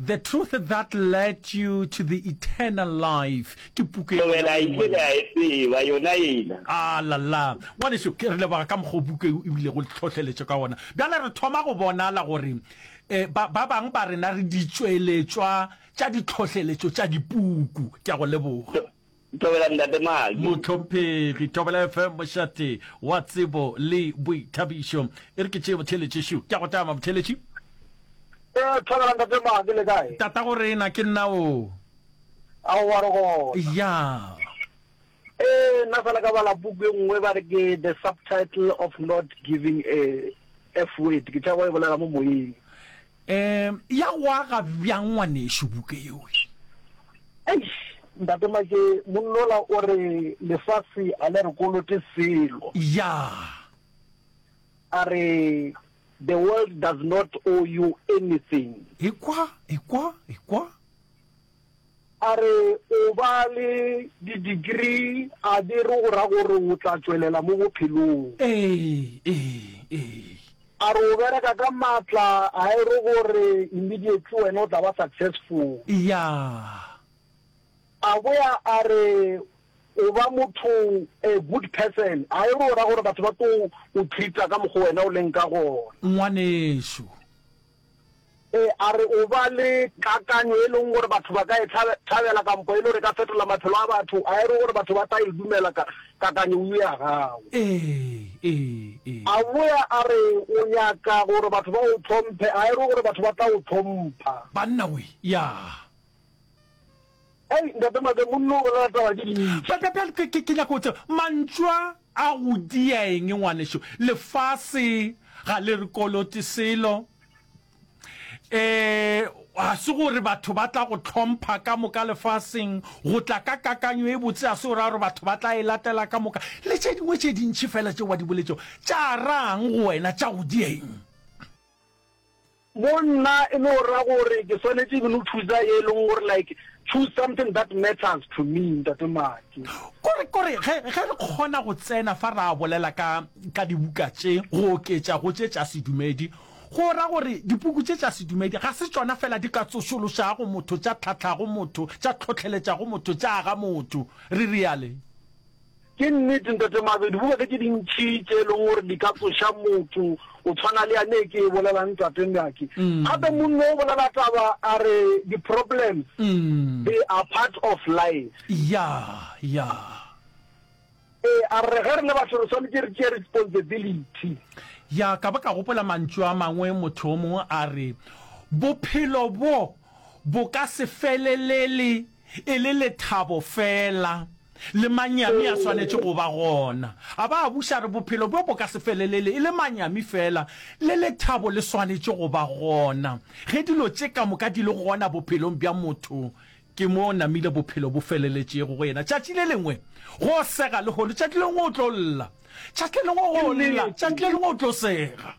The Truth That Led You to the Eternal Life ke puku ya Thobela e ile a e tseba yona ena. A la la. Ngwanešu, ke re leboga ka mokgwa o buka e bilego le tlhohleletšo ka gona. Bjale re thoma go bonala gore eh, ba, ba bangwe ba rena re ditšweletšwa tša ditlhohleletšo tša dipuku. Ke a go leboga. Thobela Ntate Maki. Mohlomphegi, Thobela FM, mošate wa tsebo le boithabišo. E re ke tšee motheeletši šo. Ke a go tama, motheeletši. Ee, Thobela Ntate Maki, le kae? Tatago rena, ke nna o. Aowa, re gona. Ya. Ee, nna fela ka bala puku e nngwe ba re ke The Subtitle of Not Giving a F Word. Ke tšhaba go e bolela mo moyeng. Um ya go aga bjang ngwanešu buka yeo? Eish, Ntate Make, monnola o re lefase a le re kolote selo. Ya. A re the world does not owe you anything. Ekwa, ekwa, ekwa. A re o ba le di-degree a di re go ra gore o tla tšwelela mo bophelong. Ee, ee, ee. A re o bereka ka maatla a e re gore immediately wena o tla ba successful. Ya. A boya a re o ba motho a good person a e re o ra gore batho ba tlo o treat-a ka mokgo wena o leng ka gona. Ngwanešu. Ee, a re o ba le kakanyo e leng gore batho ba ka e thabela kampo e le gore e ka fetola maphelo a batho, a e re gore batho ba tla e dumela ka kakanyo eo ya gago. Ee, ee, ee. A boya a re o nyaka gore batho ba o hlomphe, a e re gore batho ba tla o hlompha. Banna we, ya. Hei, Ntate Make, monna o bolela taba tše dintši. Bja, bja, bjale ke, ke, ke nyaka go tseba, mantšu a a go dia eng, ngwanešu? Lefase ga le re kolote selo. E, ga se gore batho ba tla go hlompha ka moka lefaseng. Go tla ka kakanyo e botse ga se go ra gore batho ba tla e latela ka moka. Le tše dingwe tše dintši feela tšeo ba di boletšego, tša ra'ng go wena? Tša go dia eng? Mo nna e no ra gore ke swanetše ke no chooser ye e leng gore like choose something that matters to me Ntate Maki. Kore, kore ge, ge re kgona go tsena fa ra bolela ka, ka dibuka tše go oketša go tše tša sedumedi, go ra gore dipuku tše tša sedumedi ga se tšona fela di ka tsošološago motho, tša tlhahlago motho, tša hlohleletšago motho, tša aga motho. Re riale. Ke nnete Ntate Mabe, dibuka ke tše dintši tše e leng gore di ka tsoša motho, o tshwana le yane e ke e bolelang Ntate Maki. Gape monno o bolela taba a re di-problems they are part of life. Ya, ya. Ee, a re ge re le batho re swanetše re tšee responsibility. Ya, ka ba ka gopola mantšu a mangwe motho o mongwe a re, Bophelo bo bo ka se felelele e le lethabo feela. Le manyami a swanetše go ba gona. A ba a buša a re, Bophelo bjo bo ka se felelele e le manyami feela, le lethabo le swanetše go ba gona. Ge dilo tše ka moka di le gona bophelong bja motho, ke mo namile bophelo bo feleletšego go yena. Tšatši le lengwe go sega lehono, tšatši le lengwe o tlo lla. Tšatši le lengwe go lla, tšatši le lengwe o tlo sega.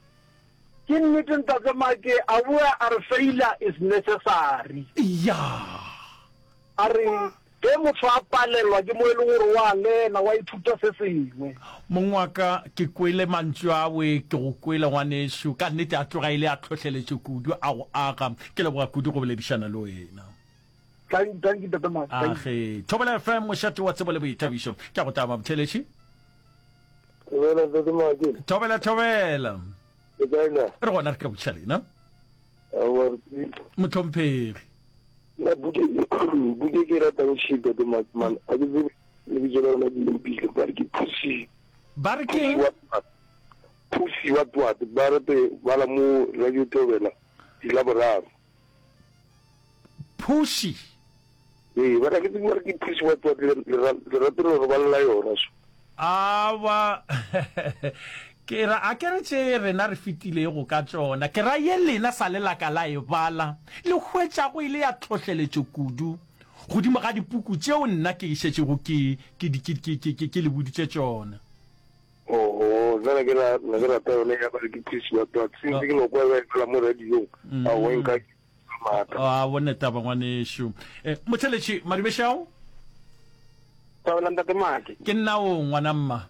Ke nnete Ntate Make, a boa a re failure is necessary. Ya. A re ge motho a palelwa ke mo e leng gore wa lena, wa ithuta se sengwe. Mong wa ka, ke kwele mantšu awe, ke go kwele ngwanešu. Ka nnete a tloga e le a tlhohleletšo kudu, a go aga. Ke leboga kudu go boledišana le wena. Thank, thank you Ntate Make. Thank you. Age. Thobela FM, mošate wa tsebo le boithabišo. Ke a go taba, motheeletši. Thobela Ntate Make. Thobela, thobela. Le kae na? Re gona re ka botšiša lena. Aowa re tsebile. Mohlomphegi. Nna buke buke ke ratang shit Ntate Make man. A ke tsebe lebitso la yona ke lepile ba re ke Pussy. Ba re ke eng? Pussy what what ba re te bala mo Radio Thobela di Laboraro. Pussy. Ee, ba ke tsebe ba re ke Pussy what what lerato le re balela yona so. Awa ke ra a ke re tše rena re fetilego ka tšona, ke ra ye lena sa le la ka la e bala, le hwetšago e le ya tlhohleletšo kudu godimo ga dipuku tšeo nna ke šetšego ke, ke, ke, ke, ke, ke, ke le boditše tšona. Oho, nna ne ke ra, ne ke rata yone ya ba re ke Pussy what what, since ke no kwa ba e bala mo radiong, aowa e nka maatla. A bone taba ngwanešu. Eh, motheletši Madumešao. Thobela Ntate Make. Ke nna o ngwana mma.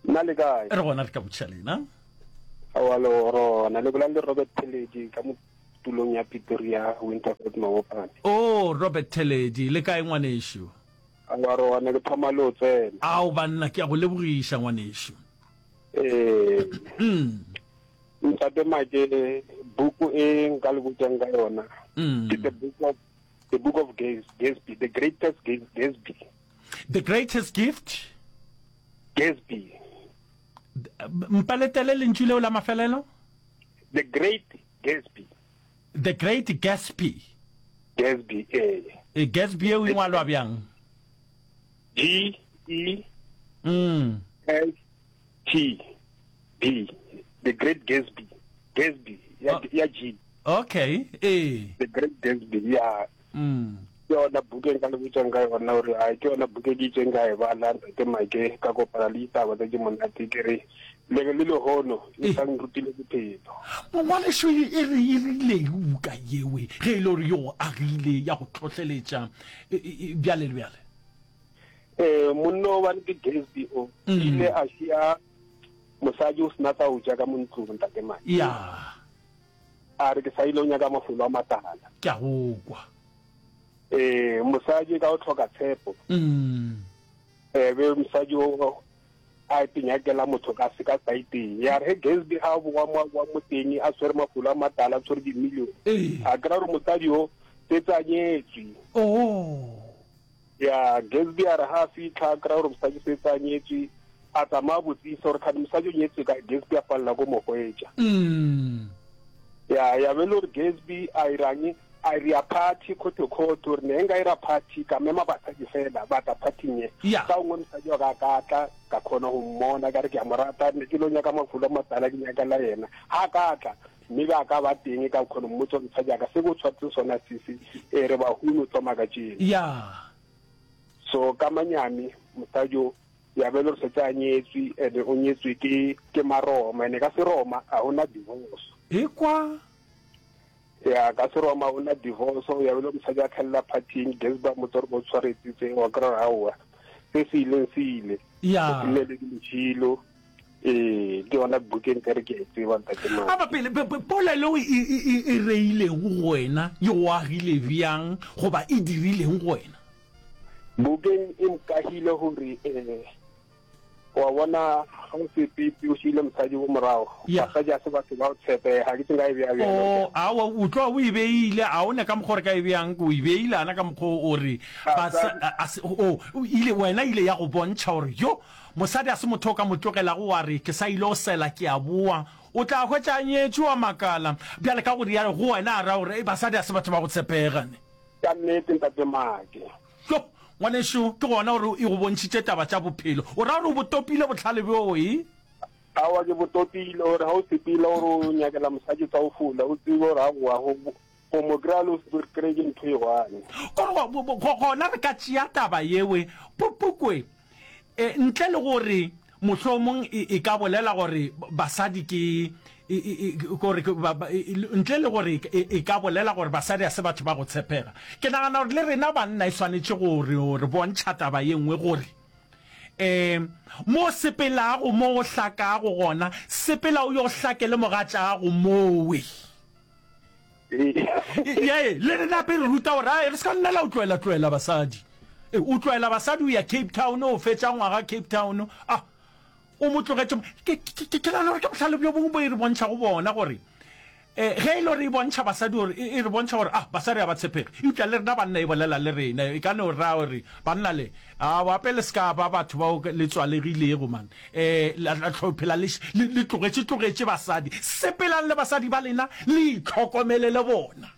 Nna le kae? Re gona re ka botšiša lena. Aowa le rona le bolela le Robert Pheledi ka mo. tulong ya Pretoria, Winterveld Mabopane. Oh, Robert Theledi, le kae ngwanešu? Aowa, re gona, ke thoma le o tsena. Ao banna, ke a go lebogiša ngwanešu. Ee. Ntate Make, buku e nka le botšang ka yona ke The Book of The Book of Gatsby, The Greatest Gatsby. The Greatest Gift? Gatsby. Mpaletele lentšu leo la mafelelo? The Great Gatsby. The Great Gatsby. Gatsby, ee. E Gatsby eo e ngwalwa bjang? G E mm. S T B. The Great Gatsby. Gatsby ya, oh. ya G. Okay, ee. The Great Gatsby, ya. Mm. Ke yona buka e nka le botsang ka yona gore a ke yona buka e ke itseng ka e bala ntate Make ka kopana le ditaba tse di monate ke re le le lehono e sa nrutile bophelo. Ngwaneso e e re e rileng buka yewe ge e le gore yo agile ya go tlhohleletša e, e, e, bjale le bjale? Eh monna o bane ke Gatsby o mm. ile a šia mosadi o sena tsa o ja ka mo ntlong ntate Make. Ya. A re ke sa ile o nyaka mafolo a matala. Ke a go kwa. Ee, mosadi ka o tlhoka tshepo. Mm. E be mosadi o a itenyakela motho ka se ka saeteng. Ya re he Gatsby ha boa mo wa mo teng a tshwere mafolo a matala a tshwere di-million. Ee. A kry-a gore mosadi o setse a nyetswe. Oh. Ya, Gatsby a re ha a fitlha a kry-a gore mosadi setse a nyetswe, a tsamaya a botsisa gore kgane mosadi o nyetswe kae, Gatsby a palela ko mo hwetša. Mm. Ya, ya be le gore Gatsby a irang, a ira party khoto-khoto, gore ne nka ira party ka mema basadi fela ba tla party-ing e. Ya. Ka gongwe mosadi wa ka a ka tla, ka kgona go mmona, ka re ke a mo rata, ne ke lo nyaka mafulo a matala ke nyakela yena. Ha a ka tla, mme ba ka ba teng ka kgona mmotsa gore mosadi a ka se ko tshwaretse sona sese e re bahumi o thoma ka tšeno ya so ka manyami mosadi o ya be le gore setse a nyetswe and o nyetswe ke ke maroma ene ka seroma a ona divorce e kwa ya ka seroma o na divorce ya be le mosadi a tlhelela partying gesba motse gore o tshwaretsitse wa kry aowa se se ileng se ile ya se le le lešilo Ee, ke yona bukeng ka re ke a e tseba ntate Madi. A ba pele, polelo e, e, e, e reileng go wena e go agile bjang goba e dirileng go wena? Bukeng e nkagile gore eh, wa bona ga o sepepe o šiile mosadi ko morago, Ya. basadi a se batho ba go tshepega, ke se nka e bea bjalo. O, aowa, o tloga o e beile, a o ne ka mokgwa o re ka e beang, o e beile ana ka mokgwa o re, basa, a, a se, o, o ile, wena ile ya go bontšha gore, yo, Mosadi a se motho o ka mo tlogelago wa re, Ke sa ile go sela, ke a boa. O tla hwetša a nyetšwe, wa makala. Bjale ka go realo, go wena a ra gore, Basadi a se batho ba go tshepega, ne? Ka nnete, Ntate Make. Yo, ngwanešu, ke gona gore e go bontšhitše taba tša bophelo. O ra gore o bo topile bohlale bjoo, e? Aowa, ke bo topile, gore ga o sepela gore o nyakela mosadi tsa go fula, o tsebe gore aowa, go, go mo kry-a le go se kry-e ke ntho e one. Kore go, gona re ka tšea taba yewe, pu, pukwe. E, ntle le gore mohlomong e, e ka bolela gore basadi ke e, e, e, gore ke ba, ba, e, ntle le gore e, e ka bolela gore basadi a se batho ba go tshepega. Ke nagana gore le rena banna e swanetše go re, re bontšha taba ye nngwe gore um mo sepelago mo o hlakago gona, sepela o yo hlake le mogatšago mowe. Ye, le rena gape re ruta gore ai re se ka nna la o tloela tloela basadi. E, o tloela basadi o ya Cape Town o fetša ngwaga Cape Town ah o mo tlogetše ke ke ke nagana gore ke bohlale bjo bongwe bo e re bontšha go bona gore eh ge e le gore e bontšha basadi gore e re bontšha gore ah basadi ga ba tshepege eupša le rena banna e bolela le rena e ka no ra gore banna le a wape le se ka ba batho bao le tswalegilego man E, la, la tlo phela le, le, le tlogetše, tlogetše basadi. Sepelang le basadi ba lena, le itlhokomele le bona.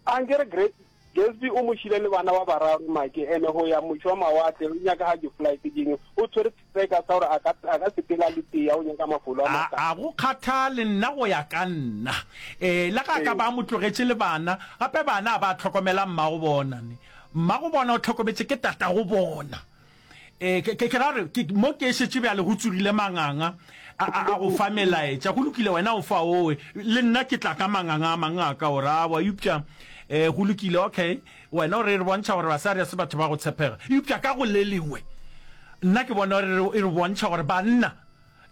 A nke re Great Gatsby o mo šile le bana ba bararo make ene go ya moše wa mawatle o nyaka ga di-flight dingwe o tshwere seka sa gore a ka a ka sepela le tea o nyaka mafolo a A, matala. a go kgathale nna go ya ka nna. E, le ga a ka ba a mo tlogetše le bana, gape bana a ba hlokomela mmago bona. Ne. Mmago bona o hlokometše ke tatago bona. E, ke, ke, ke ra gore, ke, mo ke šetše bjale go tsogile manganga a, a, a go fa melaetša. Go lokile, wena o fa owe, le nna ke tla ka manganga a mang a ka o ra, aowa, eupša, e, go lokile, okay, wena o re re bontšha gore basadi ga se batho ba go tshepega. Eupša ka go le lengwe, nna ke bona gore e re bontšha gore banna.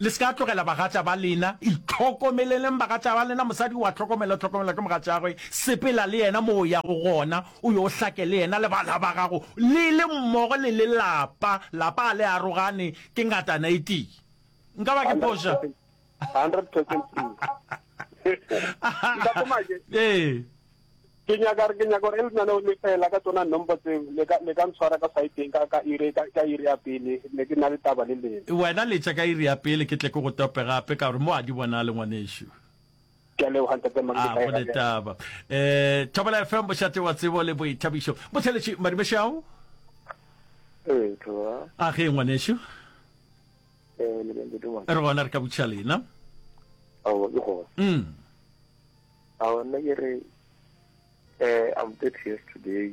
Le se ka tlogela bagatša ba lena. Itlhokomeleleng bagatša ba lena. Mosadi o a hlokomela, o hlokomelwa ke mogatšagwe. Sepela le yena mo o yago gona, o yo hlake le yena le bana ba gago. Le le mmogo le le lapa. Lapa ga le arogane, ke ngatana e tee. Nka ba ke phoša? 100% true. Ntate Make. Ee. Ke nyaka ke nyaka gore lenaneo le fela ka tsona nombo tseo le ka le ka ntshwara ka saeteng ka ka iri ka ka iri ya pele ne ke na le taba le lena. Wena letša ka iri ya pele ke tle ke go tope gape ka gore mo a di bonale ngwanešu. Ke a leboga ntate Make. A go ne taba. Eh Thobela FM bošate wa tsebo le boithabišo. Botheletši Madumešao. Ee, Thobela. A ge ngwanešu. Eh le ntate Make. Re gona re ka botšiša lena. Aowa ke gona. Mm. Aowa nna ke re eh I'm 30 years today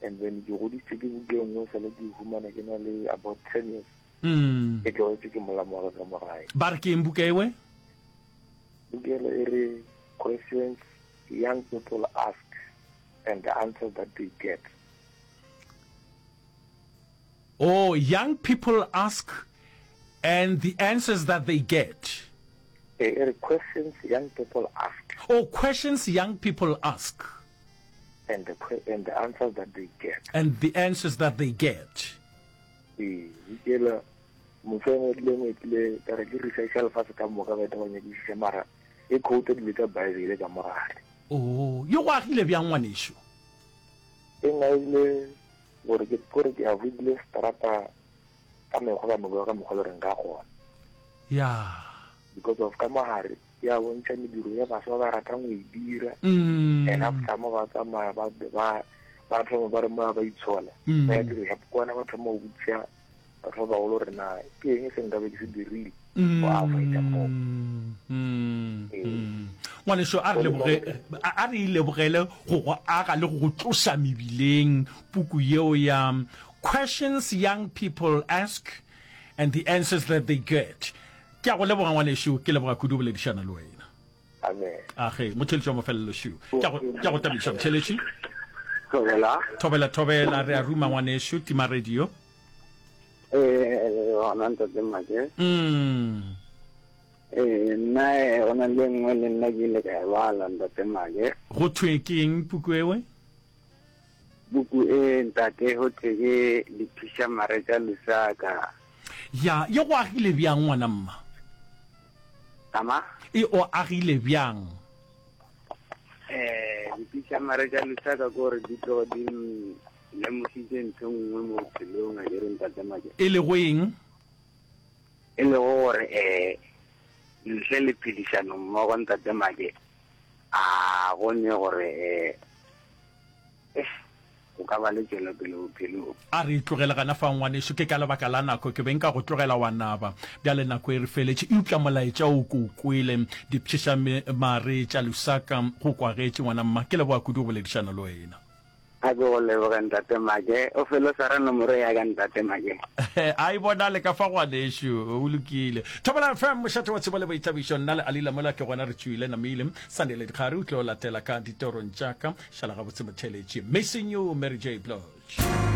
and then ke godisitse ke buka e nngwe sale ke humana ke na le about 10 years. Mm. Ke tlogetse ke molamo wa ka mo gae. Ba re ke eng buka ewe? Buka ele e re questions young people ask and the answers that they get. Oh, young people ask and the answers that they get. E, e re questions young people ask. Oh, questions young people ask. And the, and the answers that they get. And the answers that they get. Ee, ikela motho e ngwe le tlile ka re ke research ya lefatshe ka moka ba eta ba nyakišiša mara e quote dilo tsa Bible ka mogare. Oh, yo go agile bjang ngwanešu? E ngaile gore ke gore ke avoidile strata ka mekgwa ka moka ka mokgwa le reng ka gona. Ya. Because of ka mogare ya bontšha mediro ya baswa ba ratang go e dira. Mm. And after mo ba tsamaya ba ba ba thoma ba re mo ba itshola. Mm. Ba ya dira kwana ba thoma go botša batho ba bagolo gore na ke eng se nka be ke se dirile mm. go avoida mo. Mm. Ee. Mm. Ngwaneso a re leboge a re ilebogele go go aga le go go tloša mebileng puku yeo ya Questions Young People Ask and the Answers That They Get. Ke a go leboga ngwanešu, ke leboga kudu boledišana le wena. Amen. Age, motheletši wa mafelelo šu. Ke a go ke a go tabiša motheletši. Thobela. Thobela thobela re a ruma ngwanešu tima radio. Eh, gona ntate Make. Mm. Eh, nna eh, go na le nngwe le nna ke ile ka e bala ntate Make. Go thwe ke eng puku ewe? Puku e ntate go thwe ke Diphišamare tša Lusaka. Ya, ye go agile bjang ngwana mma? Ama? E o agile bjang? Eh, Diphišamare tša Lusaka ke gore di tlogo di lemositše ntho e nngwe mo bophelong a ke re ntate Make. E lego eng? E lego gore eh ntle le phedišano mmogo ntate Make a go ne gore eh go ka ba le tšwelopele bophelong. A re e tlogele gana fa, ngwanešu. Ke ka lebaka la nako. Ke be nka go tlogela wa naba. Bjale nako e re feletše. Eupša molaetša wo ke o kwele. Dipšheša mare tša Lusaka go kwagetše, ngwana mma. Ke leboga kudu go boledišana le wena. A ke go leboge, Ntate Make. O fele o swara nomoro ya ka, Ntate Make. A e bonale ka fa, ngwanešu. O lokile. Thobela FM, mošate wa tsebo le boithabišo. Nna le Alila mola ke gona re tšwile namile. Sunday Ledikgari o tlo latela ka ditorong tša ka. Šala gabotse motheeletši. Missing you, Mary J. Blige.